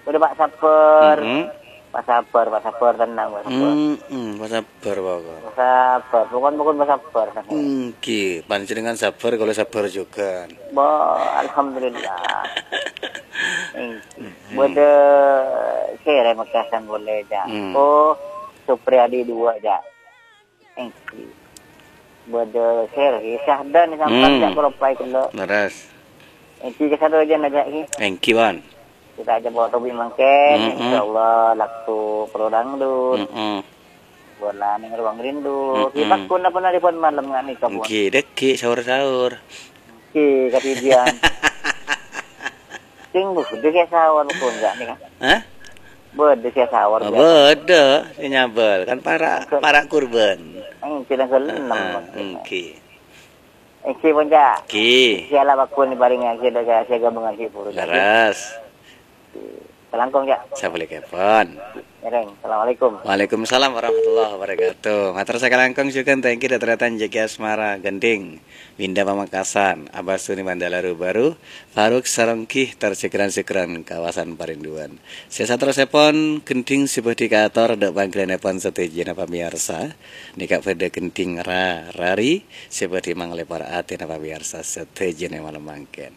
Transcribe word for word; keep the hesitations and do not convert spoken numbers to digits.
Udah, Pak, sabar. Mm-mm. Pak, sabar, Pak, sabar, tenang, Pak, sabar. Mm-mm, Pak, sabar, Pak. Pak, sabar, pokon-pokon, Pak, sabar, sabar. Nggih, panjenengan sabar, kalau sabar juga. Bo, alhamdulillah. Nggih. Mm-mm. Bâdâ sèra Mekasan polè, Cak. Mm. Oh, Supriyadi dua, Cak. Èngghi. Bâdâ sèra, Syahdan sampèyan Hmm. jhâ' kaloppaè ghellâ'. Leres. Èngghi, ka sadhâjâna jhâ' ghi. Èngghi, Wan. Kita aja bawa topik mangkèn, Mm-mm. insyaallah, waktu pro dangdut. Mm-mm. Bola neng ruang rindu. Mm-mm. Kita kuna pernah telepon malam nggak nih, kamu? Èngghi, dhâggi' sahur-sahur. Èngghi, kadidian. Sing bâdâ sè sahur pon, nggak nih, kan? Hah? Bâdâ sè sahur, Oh, biasa. Bâdâ sè nyabel. Kan para', Ke- para' kurban. Èngghi, tanggal enam, Heeh, maksudnya. Èngghi. Èngghi, pon, Cak. Èngghi. Siala bakun paring èngghi, ada sè gabung èngghi, buru, Cak. Leres. Kalangkong, Cak. Sabalèghâpon. Ngèrèng. Assalamualaikum. Waalaikumsalam warahmatullahi wabarakatuh. Mator sakalangkong jhughân, thank you, dhâ' tarètan Jeki Asmara Gending. Winda Pamekasan, Abah Suni Mandala Rubaru, Faruk Saronggi, tor jhâgran-jhâgran kawasan Parinduan. Sè saterrossèpon, gendhing sè bhâdhi kaator dhâ' pangghâliyânèpon sadhâjâna pamèyarsa. Nèka bâdâ gendhing ra-, rari sè bhâdhi mangalèpor atèna pamèyarsa sadhâjâna malem mangkèn.